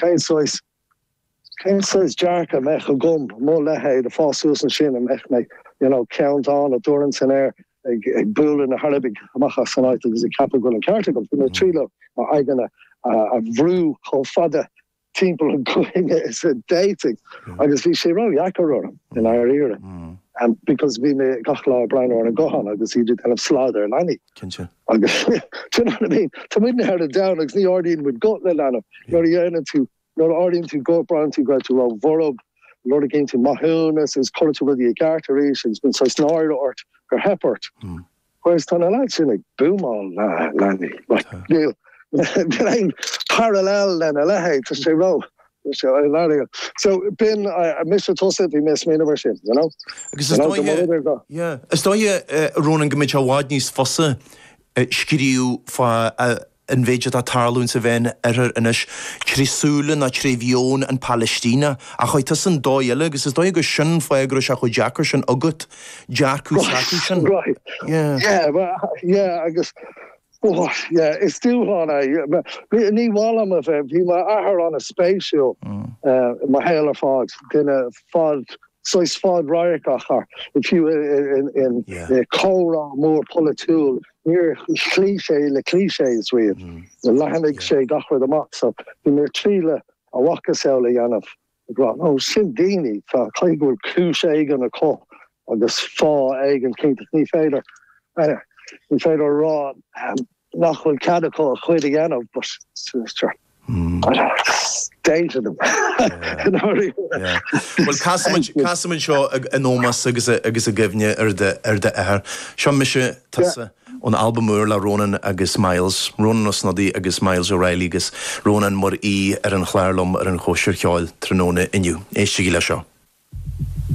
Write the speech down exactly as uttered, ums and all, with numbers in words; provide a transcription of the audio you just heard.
Cén saghas cén saghas dearcadh a mbeadh agam mo leithéid ag fás suas ansin a mbeadh mé you know ceann dána dúran san aer ag ag bualadh na hArabaigh amach as an áit agus ag ceapadh go bhfuil an ceart agam. Bhí mé ag triail m'aigne a bhrú chomh fada timpeall an chúinne is a d'fhéadfainn agus bhí sé ró-dheacair orm i ndáiríre. Um, because bhí mé gach lá breathnú ar an guthán agus iad ag déanamh slad ar leanaí. Cinnte. Agus do you know what I mean? Tá muidne ar an domhan agus ní ardaíonn muid guth le leanbh nuair a dhéanann tú nuair a ardaíonn tú guth braitheann tú go bhfuil tú ró-bhorb lorgaíonn tú maithiúnas agus cuireann tú rudaí i gceart arís agus bíonn saghas náire ort gur theip ort. Whereas tá na lads sin ag búmáil le leanaí. Like, níl níl aon parallel lena leithéid tá sé ró. So b'in mise tusa bhí mé smaoineamh sin, you know? Agus is dóigh Yeah. Is dóigh Ronan go mbeadh sé i bhfad níos fusa scríobh fá an mhéid atá ag tarlú sa Mheánoirthear anois trí súile ná trí mheon an Palaistíne a chuir tusa an dóigh eile agus is dóigh go sin fáth go raibh sé chomh deacair sin agat dearcadh s'acu sin. Right. Yeah. Yeah, well, yeah, agus oh, yeah, is dúshlán é. Ní bham a bheith bhí m'athair an-spéisiúil mo shaol ar fad duine fad saghas fadradharcach fiú in comhrá mór polaitiúil níor chloígh sé le clichés riamh. Leathnaigh sé gach rud amach so bhí mé tríle a mhacasamhail a dhéanamh ag rá ó sin daoine tá caithfidh go bhfuil cúis éigin acu agus fáth éigin cinnte ní féidir ní féidir rá nach bhfuil cead acu a chuid a dhéanamh but sure. Danger them. Well casfaimid seo in ómós agus agus i gcuimhne ar ar d'athair. Seo mise tusa ón albam úr le Ronan agus Myles, Ronan Ó Snodaigh agus Myles O'Reilly agus Ronan mar aoi ar an chlár liom ar an chóisir cheoil tráthnóna inniu. Éistigí le seo.